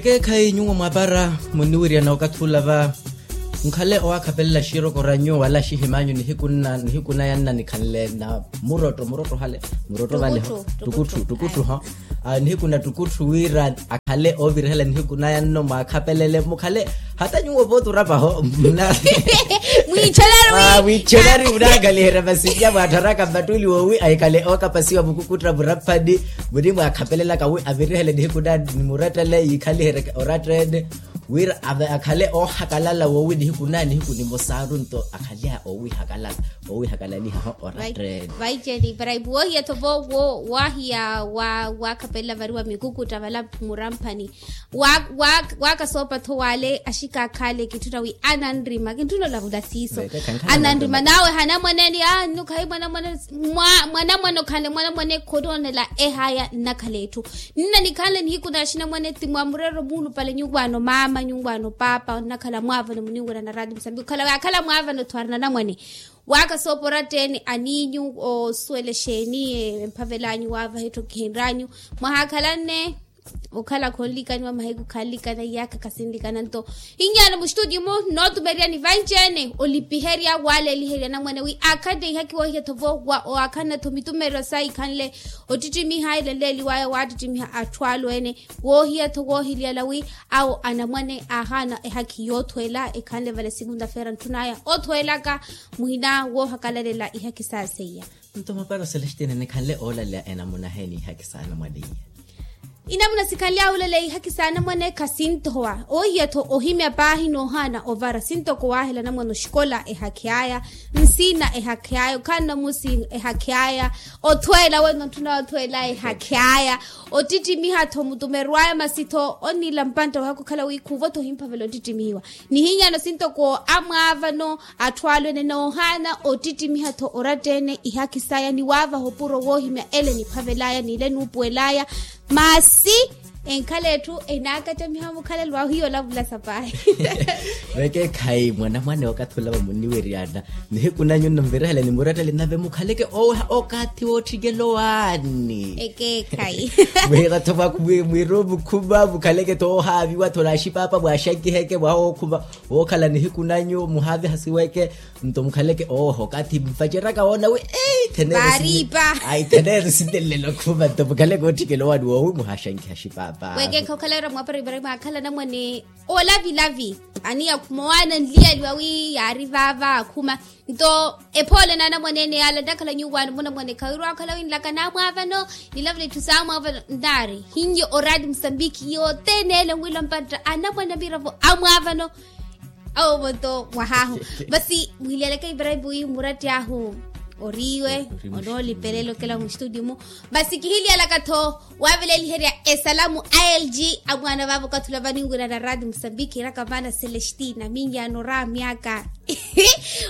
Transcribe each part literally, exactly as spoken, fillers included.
Ekeekhayi nyuwo mwaapara, muniwiryana okathi ula va nkhale owaakhapelela xiirokoro anyu wala xihimanyu nihiku nna nihiku naya nna nikhanle na murotto murotto hale murotto valeho. Tukutthu tukutthu ho. Nihiku na tukutthu wira akhale oovirihela nihiku naya nno mwaakhapelele mukhale hata nyuwo vooti orapaho. Mwiichonari munaakhaliherya masinya mwaatharaka mmattuuli woowi ahikhale ookapasiwa mukukutta muraphani. Munimwaakhapelelaka wi avirihele nihiku naya ni murattele yiikhaliherye oratta ene wira akhale oohakalala woowi nihiku naya nihiku nimosaru nto akhale oowihakalala oowihakalalihaho oratta ene. Vaiceni para ipu woohiya-tho vo wo waahiya waakhapelela variwa mikukutta vala muramphani. Waakasoopa-tho wale axikaakhale kintthuna wi ananrima kintthuna olavula siiso. Ananrima nawe hanamwaneni annu khayi mwanamwane mwanamwane okhanle mwanamwane khononela ehaya nnakhala etthu. Nna nikhanle nihiku na axinamwane ti mwa murero muulupale nyuwaano maama nyuwaano paapa onnakhala mwaavano muniwira na raati musambiki okhala wi akhala mwaavano tho ari nanamwane. Waakasoopa oratta ene aniinyu osuwela exeeni emphavelanyu waavaha etthu kihinranyu mwahaakhalanne. Okhala khonlikaniwa mahiku khanlikana iyaakha khasinlikana nto. Hinyaano muxituti-mu nootumeryani vanci-ene olipiherya waaleliherya anamwane wi aakhanne ihaki woohiya-tho vo wa owaakhanna-tho mitumeryo sa ikhanle ottittimiha ilenleeliwaya waattittimiha atthu alu ene. Woohiya-tho woohiliyala wi awo anamwane aahaana ehaki yoothweela ekhanle vale sikunta feera ntthunaya othweelaka muhina woohakalalela ihaki saa seiya. Nto maparo celestine nikhanle oolaleya enamuna heeni ihaki saana mwaliya. Inamuna sikhanly'ahu olaleya ihaki saana mwane khasinthowa oohiya-tho ohimya paahi noohaana ovara sintoko waahela namwane oxikola ehaki aya nsiina ehaki aya okhaana musi ehaki aya othweela weno ntthuna othweela ehaki aya ottittimiha-tho mutumerw'aya masi-tho onniila mpantta wahaka okhala wi khuuvo-tho ohimphavela ottittimihiwa. Nihinyaano sintoko amwaavano atthu alwene noohaana ottittimiha-tho oratta ene ihaki saya ni waavaha opuro woohimya ele eniphavel'aya n'ile enuupuwel'aya. Masi enkhala etthu enaakattamiha mukhalelo ahu hiyo olavula sapaahi. Vekeekhayi mwanamwane okathi olava muniwiryana nihiku nanyu nno nvirihele ni murattele nave mukhaleke ooweha okathi wootthikelowani. Ekeekhayi. Mwiira-tho mwaku mwiirumu khuma mukhaleke-tho oohaaviwa-tho n'axipaapa mwaaxankiheke mwaha wookhuma wookhala nihiku nanyu muhaavihasiweke. Nto mukhaleke ooho okathi mpaceraka woona wi eeyi thenere thenere sintelelo khuma nto mukhaleke ootthikela owani woowi muhaaxankiha xipaapa. Wekeekha okhala wira mwapara ibrahima aakhala anamwane oolavilavi aniya khuma owaana nliyaliwa wi yaari vaava akhuma. Nto ephoole n'anamwane ene yaala nnakhala nyuwaani munamwane khawirwa okhala wi nlaka naamwaavano nilavula itthu saamwaavano nnaari hinnye oraati musambiki yothene ele onwila mpatta anamwane amiravo amwaavano. Awo vonto mwahaahu. Masi muhiliyaleke ibrahim wi muratti ahu oriiwe onoolipelela okela muxitudio-mu. Masi kihiliyalaka-tho waaveleliherya esalamu a lg amwaana vaavo okathi ola vaninwira na raati musambiki iraka vaana celestina minyaano oraamyaka.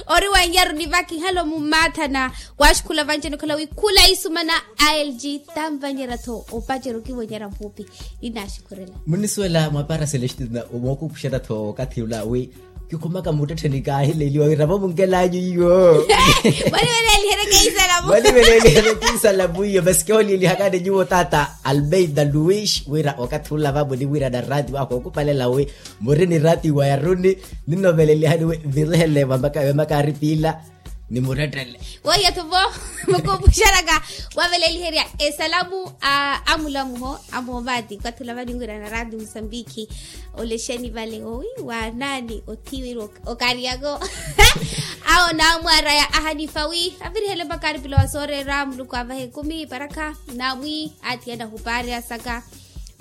Ori wanyaru nivaka ihalo mumaathana waaxikhula vanci-ene okhala wi khula isumana a lg tanvanyerya-tho opacerya okiwonyerya mpuupi. Ninaaxikhurela munisuwela mwapaara celestina omookupuxerya-tho okathi ula wi kikhumaka muttettheni kaahileliwa wira vamunkelanyu iyo. Mwalivelelihereke isalamu mwalivelelihereke isalamu iyo masi kiholielihakani nyuwo tata almeida luis wira okathi ula vamuniwira na raati wahu ookupalela wi muri ni raati wa yaruni. Ninnovelelihani wi virihele vamaka vemaka aripila. Ni murettele wohiya-tho vo mukupuxeraka waveleliherya esalamu a amulamuho amoovaati okathi ula vaninwira na raati musambiki. Olexeni vale owi waanaani othiwiri okaryako. Awo naamwaraya ahanifa wi avirihele mpakha aripila wa sooreera muluku avaha ekumi parakha naamwi aathiyana ohupaari asaka.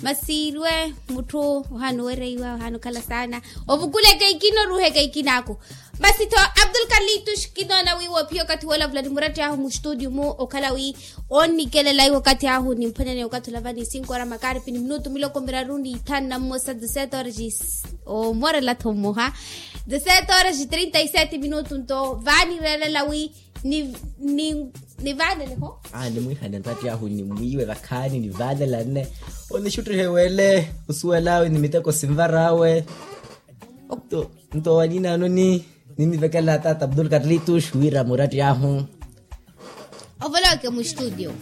Masi iruwe mutthu ohaana owereiwa ohaana okhala saana ovukuleke ikina oruuheke ikinaaku. Masi-tho abdul kalitus kinoona wi woophiya okathi woolavula ni muratti ahu muxitudio-mu okhala wi onnikelela iwe okathi ahu nimphwanyaneya okathi olavani sinkoora makaripi ni minutu miloko miraru ni ithanu na mmosa dezesete horas. Omorela-tho mmoha dezesete horas trinta y sete minutu nto vaanireerela wi ni ni nivaanele ho. Nimwiihane nratti ahu nimwiiwe vakhaani nivaanela nne onixuttihe weele osuwel'awe ni miteko sinvar'awe. Nto nto waninaano ni ninnivekela tata abdul karlitus wira muratti ahu. Ovoloke muxitudio.